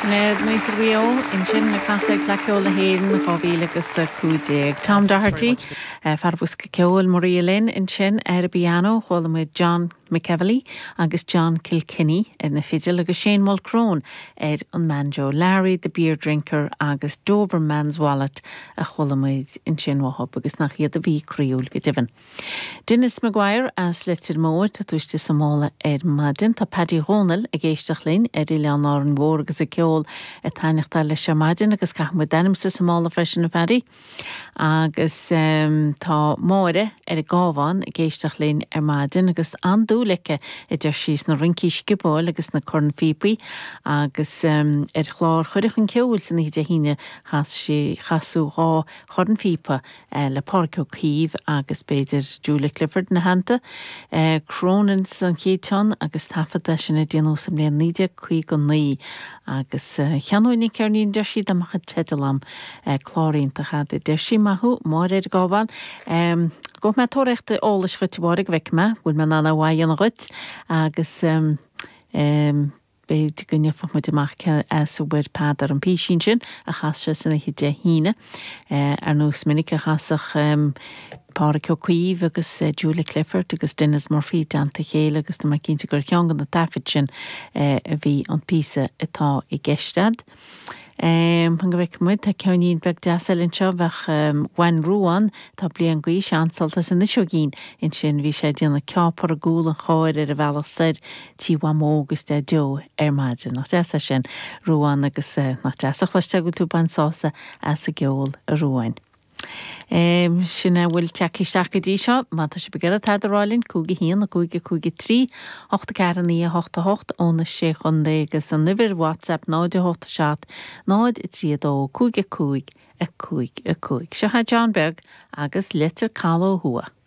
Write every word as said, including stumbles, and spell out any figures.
Muintir Mhaigh Eo ansin ag casadh ag Fleadh Cheoil na hÉireann dhá mhíle agus a cúig déag. Tom Doherty, fear bosca ceoil Maria Lynn ansin ar an bpianó, chuala muid John McEvilly agus John Kilkenny ar na fidil agus Shane Mulcrone ar an mbanjo, Larry the Beer Drinker agus Doberman's Wallet a chuala muid ansin uathub agus nach iad a bhí croíúil go deimhin. Dennis Maguire as Leitir Móir tá tú istigh sa mála ar maidin, tá Paddy Dhónaill ag éisteacht linn ar Oileán Árainn Mhór agus an ceol ag taitneachtáil leis ar maidin agus caithfidh muid d'ainmse sa mála freisin a Phaddy. Agus um, tá Máire ar an gCabhán ag éisteacht linn ar maidin agus an-dúil aici a deir sí sna rincí sciobóil agus na cornphíopaí agus um, ar chlár Chuireadh chun Ceoil san oíche Dé hAoine chas sí chasadh dhá chornphíopa eh, le Pádraig Ó Caoimh agus b'fhéidir Julia Clifford ina theannta. Eh, Cronin's an chéad ceann agus taifead sin a déanadh sa mbliain naoi déag caoga naoi agus uh, cheannóinn an ceirnín deir sí dá mbeadh an teideal agam uh, clár iontach a deir sí maith thú Máire ar an gCabhán. Um, Gabhfaidh mé tóraíocht eolais dhuit a Mháire go bhfeicfidh mé, bhfuil mé in ann é a dhéanamh dhuit agus um, um, b'fhéidir go ngeobhaidh muid amach as a bhfuair Peadar an písín sin a chas sé san oíche Dé hAoine uh, ar nós minic a chasach um, Pádraig Ó Caoimh agus uh, Julia Clifford agus Dennis Murphy i dteannta a chéile agus tá mé cinnte gur ceann de na taifid sin uh, a bhí an píosa atá i gceist a'd. Um, go bhfeicfidh muid tá ceainnín beag deas eile anseo bheadh um, Bhain Ruán tá bliain d'aois an-sult as an Isogín ansin bhí sé déanamh ceápar i gcúl an chairr ar a bhealach soir tí Mhamó agus Daideo ar maidin. Nach deas é sin Ruán agus uh, nach deas a chloisteáil go bhfuil tú ag baint sásamh as an gceol a Ruáin. Um, sin a bhfuil tagtha isteach go dtí seo, má tá sibh ag iarraidh tada a rá linn cúig a haon a cúig a cúig a trí, ocht a ceathair naoi a hocht a hocht ó na sé chontae agus an uimhir WhatsApp náid a hocht a seacht, náid a trí a dó, cúig a cúig a cúig a cúig. Seo é John Beag agus Leitir Caladh Ó Thuaidh.